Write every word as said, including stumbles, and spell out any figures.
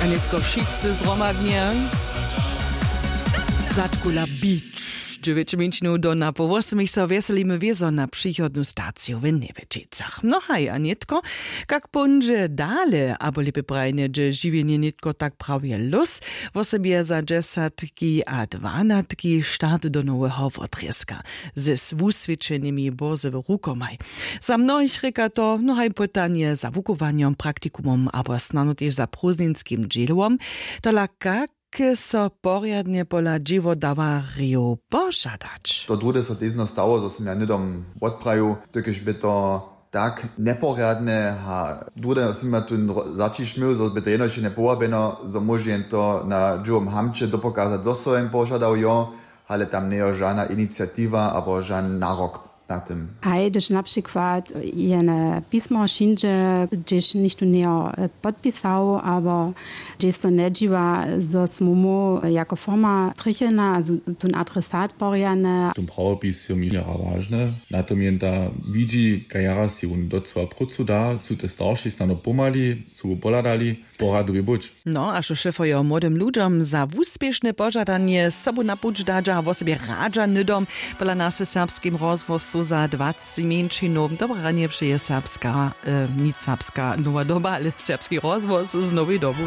A nětko wšitcy zhromadnje. Zadkula beach, dźewjećminčinow do na poł wosomich so wjeselimy wězo na přichodnu staciju w Njewjećicach. No haj, a nětko, kak póńdźe dale, abo lěpje prajnje, dźe žiwjenje nětko tak prawje lós, wosebje za dźesatki a dwanatki start do noweho wotrězka ze swuswěćenymi bórzowych rukomaj. Za mnohich rěka to, no haj pytanje za wuchowanjom, praktikumom abo snano tež za prózdninskim dźěłom. Tola kak so porjadnje pola dźěłodawarjow požadać? To druhde so tež stało, zo sym ja hnydom wotprajił, dokelž by to tak njeporjadne a druhde sym ja tu zaćišmył, zo by to jenož je njepowabjeno, zo móže jen to na dźěłom hamće dopokazać, zo so jen požadał jo, ale tam njejo žana iniciatiwa abo žan narok na tym. Haj, hdyž na přikład jene pismo přińdźe, hdźež nichtó njejo podpisał, abo hdźež so njedźiwa, zo smy my jako firma trjechena a tón adresat porjane. Tón prawopis jo mi jara wažne, na tom jen ta widźi, kaž jara sej wón docyła prócu da, su te starši snano pomhali, su pohladali, poradu by być. No a što šefojo młodym ludźom za wuspěšne požadanje sobu na puć dadźa a wosebje radźa hnydom, pola nas w serbskim rozhłosu za dwacci mjeńšinow. Dobre ranje přeje serbska, nic serbska nowa doba, ale serbski rozhłos z nowej dobu.